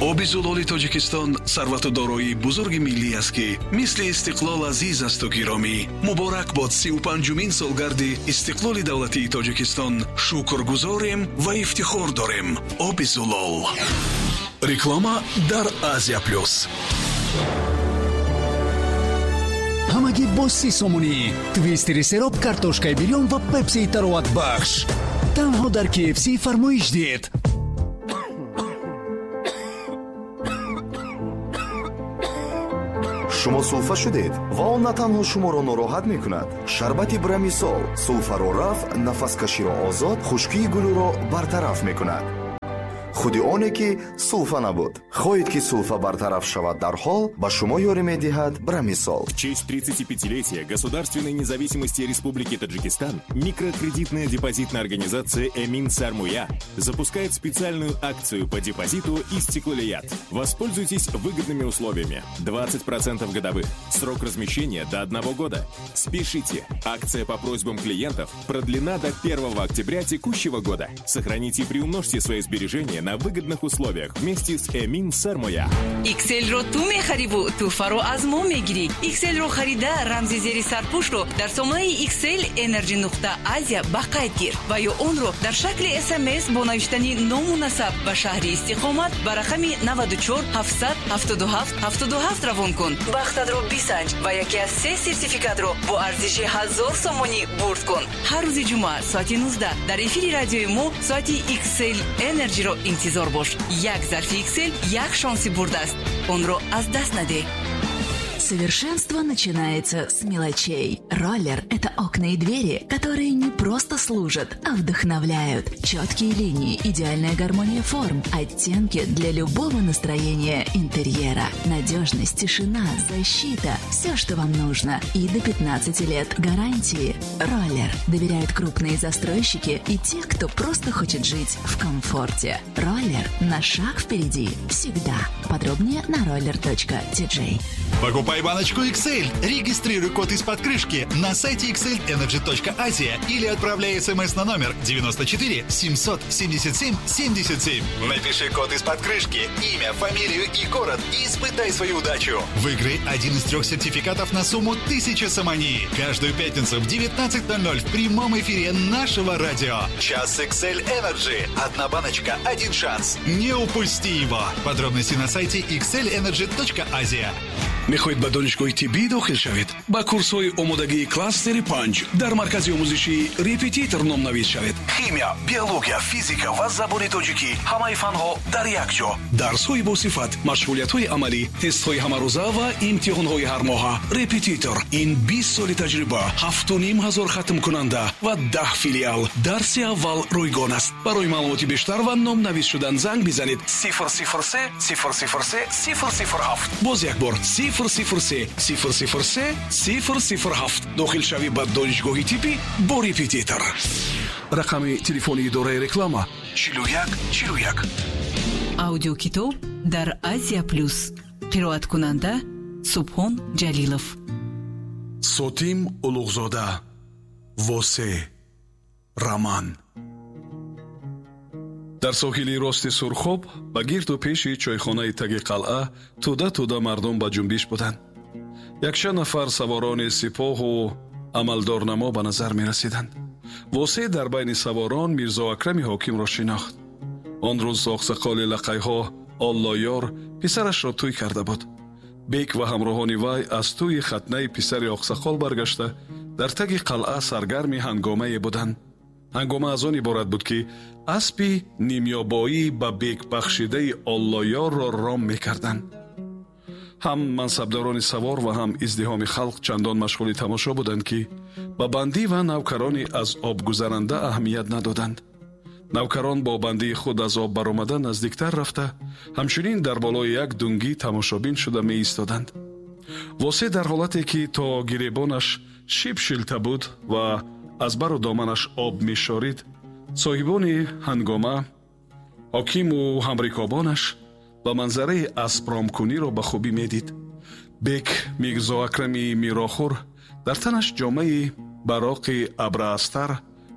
Оби зулоли Тоҷикистон сарвату дороии бузурги миллӣ аст, ки мисли истиқлол азиз асту гиромӣ. Муборак бод 35-умин солгарди истиқлоли давлатии Тоҷикистон. Шукргузорем ва ифтихор дорем. Оби зулол. Реклама дар Азия Плюс. Ҳамагӣ бо 30 сомонӣ твистери сероб, картошкаи бирён ва пепсии тароватбахш. Танҳо дар KFC фармоиш диҳед. Шумо сулфа шудед ва он на танҳо шуморо нороҳат мекунад. Шарбати Брамисол сулфаро рафъ, нафаскаширо озод, хушкии гулӯро бартараф мекунад. Худи оне ки сулфа набуд. Хоҳед, ки сулфа бартараф шавад дарҳол, ба шумо ёрӣ медиҳад Брамисол. В честь 35-летия государственной независимости Республики Таджикистан микрокредитная депозитная организация «Эмин Сармуя» запускает специальную акцию по депозиту «Истиклолият». Воспользуйтесь выгодными условиями. 20% годовых. Срок размещения до 1 года. Спешите! Акция по просьбам клиентов продлена до 1 октября текущего года. Сохраните и приумножьте свои сбережения на выгодных условиях вместе с «Эмин Сармуя». XL-ро ту мехариву тӯҳфаро аз мо мегирӣ. XL-ро харида, рамзи зери сарпӯшро дар сомонаи XL Energy нуқта Азия ба қайд гир ва ё онро дар шакли СМС бо навиштани ному насаб ва шаҳри истиқомат ба рақами 94 777 77 равон кун. Бахтатро бисанҷ ва яке аз се сертификатро бо арзиши 1000 сомонӣ бурд кун. Ҳар рӯзи ҷумъа соати 19 дар эфири радиои мо соати XL Energy-ро интизор бош. Як зарфи XL як шонси бурд аст. Онро аз даст надеҳ. Совершенство начинается с мелочей. Роллер – это окна и двери, которые не просто служат, а вдохновляют. Четкие линии, идеальная гармония форм, оттенки для любого настроения интерьера. Надежность, тишина, защита – все, что вам нужно. И до 15 лет гарантии. Роллер доверяют крупные застройщики и те, кто просто хочет жить в комфорте. Роллер на шаг впереди всегда. Подробнее на roller.tj. Покупай баночку XL, регистрируй код из-под крышки на сайте xlenergy.asia или отправляй смс на номер 94 777 77. Напиши код из-под крышки, имя, фамилию и город и испытай свою удачу. Выиграй один из 3 сертификатов на сумму 1000 сомони. Каждую пятницу в 19:00 в прямом эфире нашего радио. Час XL Energy. Одна баночка, один шанс. Не упусти его. Подробности на сайте xlenergy.asia. Мехоҳед ба донишгоҳи тиббӣ дохил шавед? Ба курсҳои омодагии кластери 5 дар маркази омӯзишии «Репетитор» номнавис шавед. Химия, биология, физика ва забони тоҷикӣ, ҳамаи фанҳо дар як ҷо. Дарсҳои босифат, машғулиятҳои амалӣ, тестҳои ҳамарӯза ва имтиҳонҳои ҳармоҳа. «Репетитор» ин 20 соли таҷриба, 7500 хатмкунанда ва 10 филиал. Дарси аввал ройгон аст. Барои маълумоти бештар ва номнавис шудан занг бизанед 003 003 007. Боз як бор 003 003 007. Дохилшавӣ ба донишгоҳи тиббӣ бо «Репетитор». Рақами телефони идораи реклама 41 41. Аудиокитоб дар Азия Плюс. Қироаткунанда Субҳон Ҷалилов. Сотим Улуғзода. Восе. Роман. Дар соҳили рости Сурхоб ба гирду пеши чойхонаи таги қалъа тӯда тӯда мардум ба ҷунбиш буданд. Якчанд нафар саворони сипоҳу амалдорнамо ба назар мерасиданд. Восе дар байни саворон Мирзо Акрами ҳокимро шинохт. Он рӯз оқсақоли лақайҳо Оллоёр писарашро тӯй карда буд. Бек ва ҳамроҳони вай аз тӯи хатнаи писари оқсақол баргашта дар таги қалъа саргарми ҳангомае буданд. Ҳангома аз он иборат буд, ки аспи нимёбоӣ ба бек бахшидаи Оллоёрро ром мекарданд. Ҳам мансабдорони савор ва ҳам издиҳоми халқ чандон машғули тамошо буданд, ки ба бандӣ ва навкарони аз об гузаранда аҳамият надоданд. Навкарон бо бандии худ аз об баромада наздиктар рафта, ҳамчунин дар болои як дунгӣ тамошобин шуда меистоданд. Восе дар ҳолате ки то гиребонаш шиб шилта буд ва аз бару доманаш об мешорид, соҳибони ҳангома, ҳокиму ҳамрикобонаш ба манзараи аспромкуниро ба хубӣ медид. Бек Мирзо Акрами мирохӯр дар танаш ҷомаи бароқи абраастар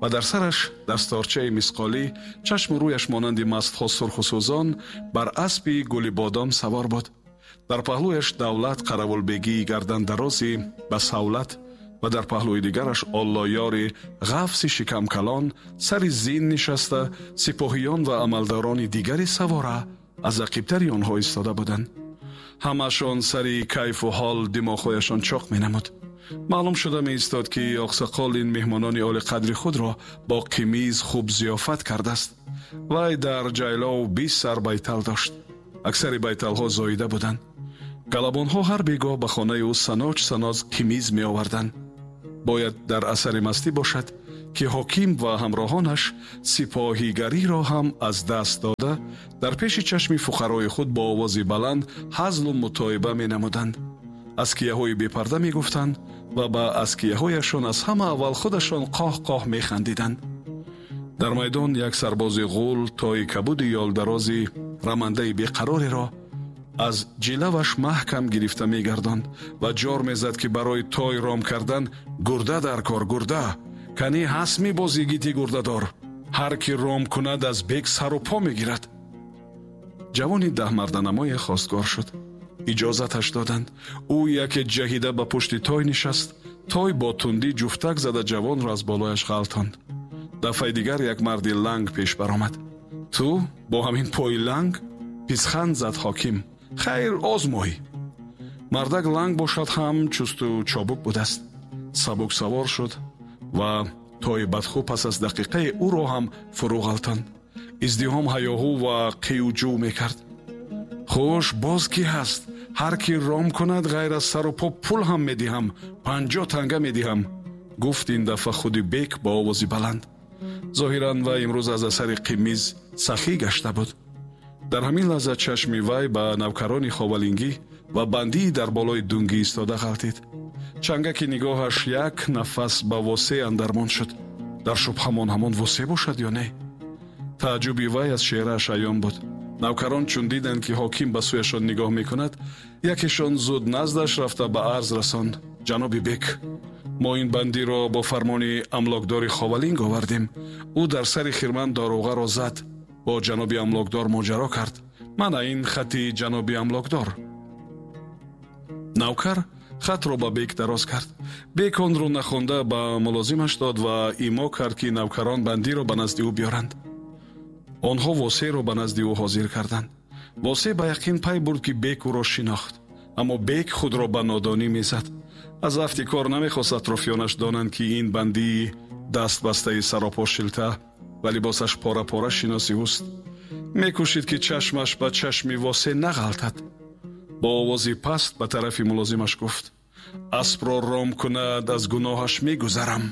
Ва дар сараш дасторчаи мисқолӣ, чашму рӯяш монанди мастҳо сурху сӯзон, бар аспи гули бодом савор буд. Дар паҳлӯяш Давлат қаравулбегии гардандарози ба савлат ва дар паҳлӯи дигараш Оллоёри ғафси шикамкалон сари зин нишаста, сипоҳиён ва амалдорони дигари савора аз ақибтари онҳо истода буданд. Ҳамашон сари кайфу ҳол димоғҳояшон чоқ менамуд. Маълум шуда меистод, ки оқсақол ин меҳмонони олиқадри худро бо қимиз хуб зиёфат кардааст. Вай дар ҷайлов 20 сар байтал дошт. Аксари байталҳо зоида буданд. Галабонҳо ҳар бегоҳ ба хонаи ӯ саноч саноз қимиз меоварданд. Бояд дар асари мастӣ бошад, ки ҳоким ва ҳамроҳонаш сипоҳигариро ҳам аз даст дода, дар пеши чашми фуқарои худ бо овози баланд ҳазлу мутоиба менамуданд. Аскияҳои бепарда мегуфтанд ва ба аскияҳояшон аз ҳама аввал худашон қоҳ-қоҳ механдиданд. Дар майдон як сарбози ғул тои кабуди ёлдарози рамандаи беқарореро аз ҷилаваш маҳкам гирифта мегардонд ва ҷор мезад, ки барои той ром кардан гурда дар кор, гурда кани ҳаст мебози гити гурдадор, ҳар ки ром кунад аз бек сару по мегирад. Ҷавони даҳмарданамое хостгор шуд. Иҷозаташ доданд. Ӯ яке ҷаҳида ба пушти той нишаст. Той бо тундӣ ҷуфтак зада ҷавонро аз болояш ғалтонд. Дафъаи дигар як марди ланг пеш баромад. Ту бо ҳамин пои ланг? Писханд зад ҳоким. Хайр, озмой. Мардак ланг бошад ҳам чусту чобук будааст. Сабук савор шуд ва тои бадхӯ пас аз дақиқаи ӯро ҳам фурӯ ғалтонд. Издиҳом ҳаёҳу ва қиюҷӯ мекард. Хуш, боз кӣ ҳаст? Ҳар ки ром кунад ғайр аз сару по пул ҳам медиҳам, 50 танга медиҳам, гуфт ин дафъа худи бек бо овози баланд. Зоҳиран вай имрӯз аз асари қимиз сахӣ гашта буд. Дар ҳамин лаҳза чашми вай ба навкарони ховалингӣ ва бандии дар болои дунгӣ истода ғалтид. Чангаки нигоҳаш як нафас ба Восе андармон шуд. Дар шубҳамон ҳамон Восе бошад ё не? Тааҷҷуби вай аз чеҳрааш аён буд. Навкарон чун диданд, ки ҳоким ба сӯяшон нигоҳ мекунад, якешон зуд наздаш рафта ба арз расонд: ҷаноби бек, мо ин бандиро бо фармони амлокдори ховалинг овардем. Ӯ дар сари хирман дороғаро зад, бо ҷаноби амлокдор моҷаро кард. Мана ин хати ҷаноби амлокдор. Навкар хатро ба бек дароз кард. Бек онро нахонда ба мулозимаш дод ва имо кард, ки навкарон бандиро ба назди ӯ биёранд. Онҳо Восеро ба назди ӯ ҳозир карданд. Восе ба яқин пай бурд, ки бек ӯро шинохт, аммо бек худро ба нодонӣ мезад. Аз афти кор намехост атрофиёнаш донанд, ки ин бандии дастбастаи саропо шилта ва либосаш пора-пора шиноси ӯст. Мекӯшид, ки чашмаш ба чашми Восе нағалтад. Бо овози паст ба тарафи мулозимаш гуфт: аспро ром кунад, аз гуноҳаш мегузарам.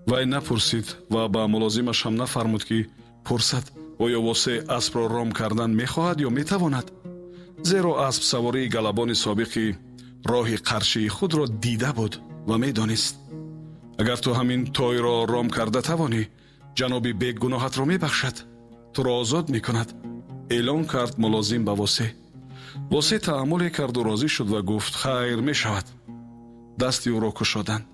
Вай напурсид ва ба мулозимаш ҳам нафармуд, ки пурсад, оё Восе аспро ром кардан мехоҳад ё метавонад, зеро аспсавории галабони собиқи роҳи қаршии худро дида буд ва медонист. Агар ту ҳамин тойро ром карда тавонӣ, ҷаноби бек гуноҳатро мебахшад, туро озод мекунад, эълон кард мулозим ба Восе. Восе таъаммуле карду розӣ шуд ва гуфт: хайр, мешавад. Дасти ӯро кушоданд.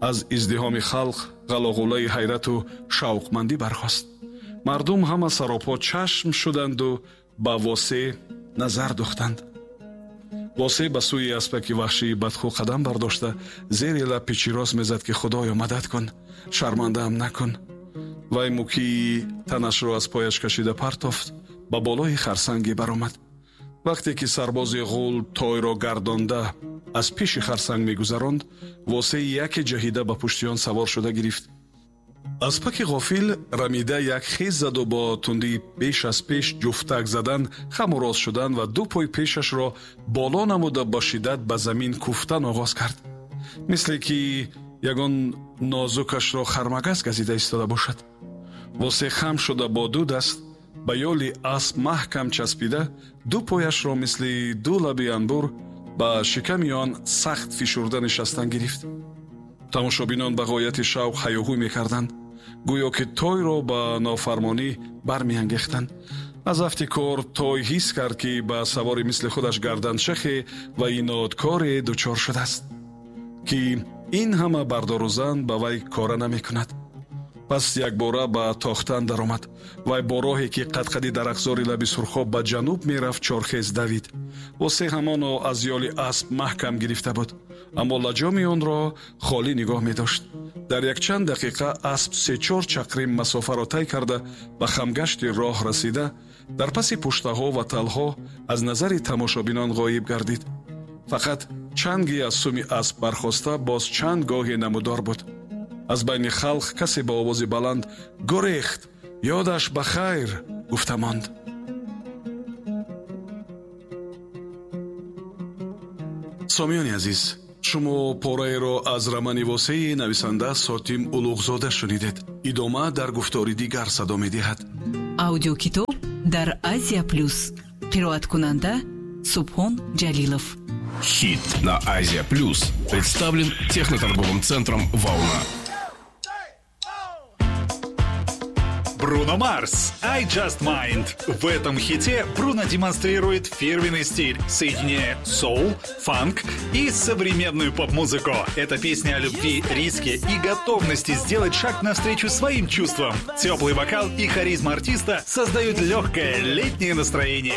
Аз издиҳоми халқ ғалоғулаи ҳайрату шавқмандӣ бархост. Мардум ҳама саропо чашм шуданду ба Восе назар духтанд. Восе ба сӯи аспаки ваҳшии бадхӯ қадам бардошта, зери лаб пичирос мезад, ки худоё мадад кун, шармандаам накун. Вай мукии танашро аз пояш кашида партофт, ба болои харсанге баромад. Вақте ки сарбози ғул тойро гардонда аз пеши харсанг мегузаронд, Восе яке ҷаҳида ба пушти он савор шуда гирифт. Аспаки ғофил рамида як хез заду бо тундии беш аз пеш ҷуфтак задан хаму рост шудан ва ду пой пешашро боло намуда бо шиддат ба замин куфтан оғоз кард, мисле ки ягон нозукашро хармагаз газида истода бошад. Восе хам шуда бо ду даст ба ёли асп маҳкам часпида, ду пояшро мисли ду лаби анбур ба шиками он сахт фишурда нишастан гирифт. Тамошобинон ба ғояти шавқ ҳаёҳӯй мекарданд, гӯё ки тойро ба нофармонӣ бармеангехтанд. Аз афти кор той ҳис кард, ки ба савори мисли худаш гарданшахе ва инодкоре дучор шудааст, ки ин ҳама бардору зан ба вай кора намекунад. Пас якбора ба тохтан даромад. Вай бо роҳе, ки қадқади дарахтзори лаби Сурхоб ба ҷануб мерафт, чорхез давид. Восе ҳамоно аз ёли асп маҳкам гирифта буд, аммо лаҷоми онро холӣ нигоҳ медошт. Дар якчанд дақиқа асп се-чор чақрим масофаро тай карда, ба хамгашти роҳ расида, дар паси пуштаҳо ва талҳо аз назари тамошобинон ғоиб гардид. Фақат чанги аз суми асп бархоста боз чанд гоҳе намудор буд. Аз байни халқ касе ба овози баланд: «Гурехт, ёдаш ба хайр!» гуфта монд. Сомиёни азиз, шумо пораеро аз романи Восеи нависанда Сотим Улуғзода шунидед. Идома дар гуфтори дигар садо медиҳад. Аудиокитоб дар Азия Плюс. Қироаткунанда Субҳон Ҷалилов. Хит на Азия Плюс представлен техноторговым центром «Волна». Бруно Марс «I Just Mind». В этом хите Бруно демонстрирует фирменный стиль, соединяя соул, фанк и современную поп-музыку. Это песня о любви, риске и готовности сделать шаг навстречу своим чувствам. Теплый вокал и харизма артиста создают легкое летнее настроение.